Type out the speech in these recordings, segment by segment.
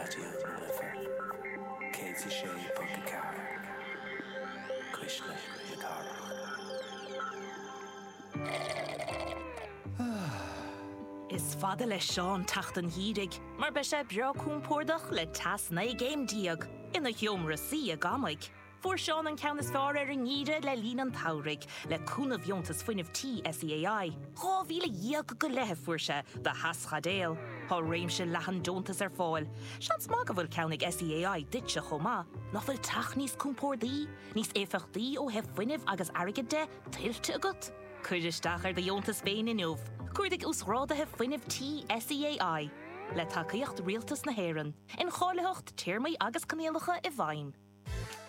Raidió na Life 106.4, Cuisle na Cathrach. Is fada le Seán teacht an gheimhridh mar beidh sé breá compordach le teas 19 gcéim ina sheomra suí i gCamaigh. Fuair Seán an ceann is fearr ar an ngeimhreadh le linn an tsamhraidh, le cúnamh Dheontas Fuinnimh Tí SEAI. 12,000 go leith a fuair sé do theaschaidéal. Tá réimse leathan deontas ar fáil. Seans maith go bhfuil ceann ag SEAI duitse chomh maith. Nach bhfuil teach níos compórdaí, níos éifeachtaí ó thaobh fuinnimh agus airgid de, tuillte agat? Cuir isteach ar do dheontas féin inniu. Cuardaigh Uasghráduithe Fuinnimh Tí SEAI. Le tacaíocht Rialtas na hÉireann. Incháilitheacht, téarmaí agus coinníollacha i bhfeidhm.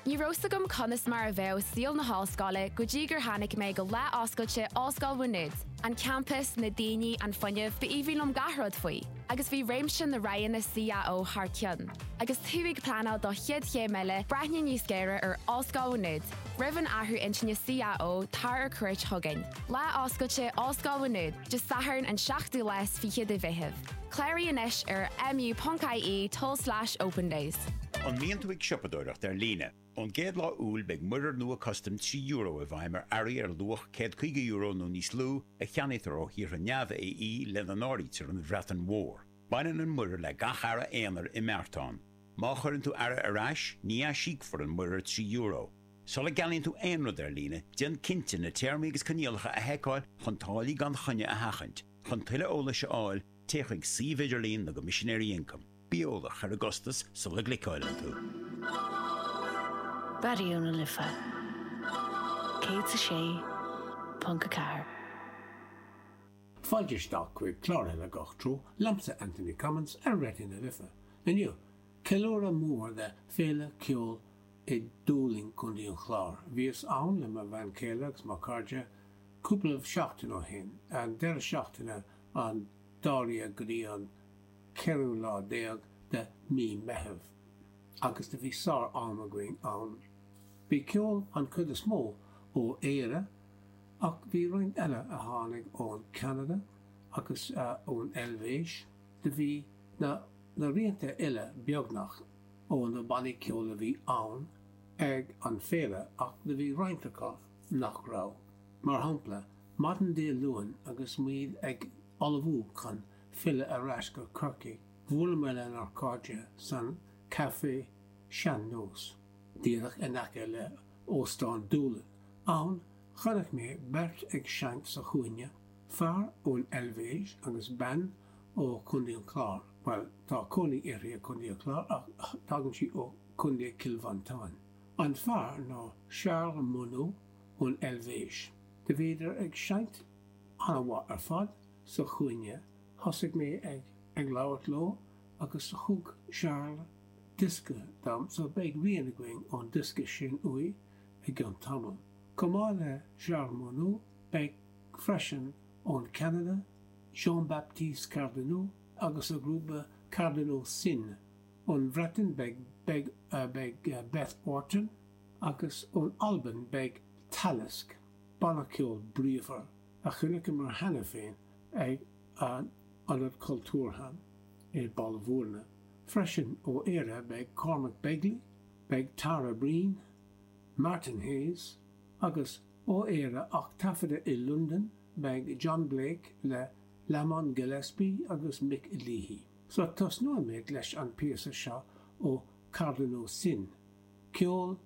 Ní raibh 's agam conas mar a bheadh saol na hollscoile go dtí gur tháinig mé go lá oscailte Ollscoil Mhá Nuad. An campas, na daoine, an fuinneamh, b'aoibhinn liom gach rud faoi. Agus bhí réimse na roghanna CAO thar cionn. Agus tú ag pleanáil do chéad chéim eile, breathnaigh níos géire ar Ollscoil Mhá Nuad. Roimh an athrú intinne CAO, tar ar cuairt chugainn. Lá oscailte Ollscoil Mhá Nuad, Dé Sathairn an seachtú lá is fiche de Mheitheamh. Cláraigh anois ar mu.ie tulslais opendays. An mbíonn tú ag siopadóireacht ar líne? Ón gcéad lá Iúil beidh muirear nua custaim €3 i bhfeidhm ar earraí ar luach €150 nó níos lú a cheannaítear ó thíortha neamh-AE lena n-áirítear an Bhreatain Mhór. Baineann an muirear le gach earra aonair i mbeartán. Má chuireann tú earra ar ais, ní aisíocfar an muirear €3. Sula gceannaíonn tú aon rud ar líne, déan cinnte na téarmaí agus coinníollacha a sheiceáil chun táillí gan choinne a sheachaint. Chun tuilleadh eolais a fháil, téigh chuig suíomh idirlín na gCoimisinéirí Ioncaim. Bí eolach ar an gcostas sula gcliceáileann tú. Raidió na Life 106.4. Fáilte isteach chuig clár eile Gach Treo liomsa Anthony Cummins ar Raidió na Life. Inniu, ceiliúradh mór de Féile Ceoil i Dúlainn, Contae an Chláir. Bhíos ann le mo bhean chéile agus mo chairde cúpla seachtain ó shin, an deireadh seachtaine an 12ú go dtí an ceathrú lá déag de mí Meitheamh, agus do bhí sár am againn ann. Bhí ceol an chuid is mó ó Éire ach bhí roinnt eile a tháinig ón Ceanada agus ón Eilvéis. Do bhí na na rianta uile beagnach ó na bannaí ceoil a bhí ann ag an féile ach do bhí roinnt acu nach raibh. Mar shampla, maidin Dé Luain agus muid ag ullmhú chun filleadh ar ais go Corcaigh, bhuaileamar lenár cairde san Café Sean Nós, díreach in aice le Óstán Doolin. Ann, chonaic mé beirt ag seinnt sa chúinne, fear ón Eilvéis agus bean ó Chontae an Chláir, bhuel, tá cónaí uirthi i gContae an Chláir ach tagann sí ó Chontae Chill Mhantáin. An fear ná Charles Monod ón Eilvéis. Do bhíodar ag seinnt an-mhaith ar fad sa chúinne. Thosaigh mé ag ag labhairt leo agus thug Charles diosca dom so beidh rian againn ón diosca sin uaidh i gcionn tamaill. Chomh maith le Charles Monod beidh freisin ón Ceanada Jean-Baptiste Cardinaux agus a ghrúpa Cardinaux Sin. Ón Bhreatain beidh beidh beidh Beth Orton agus ón Albain beidh Talisk, banna ceoil bríomhar a chonaiceamar cheana féin ag an Ionad Cultúrtha i Baile Bhúirne. Freisin ó Éire beidh Cormac Begley, beidh Tara Breen, Martin Hayes agus ó Éire ach taifeadta i Londain beidh John Blake le Lamont Gillespie agus Mick Leahy. So tosnóimid leis an píosa seo ó Cardinaux Sin, ceol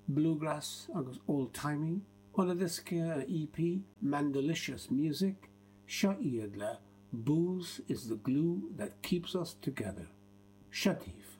bluegrass agus old timey óna diosca EP Mandolicious Music, seo iad le Booze is the glue that keeps us together. Seo daoibh.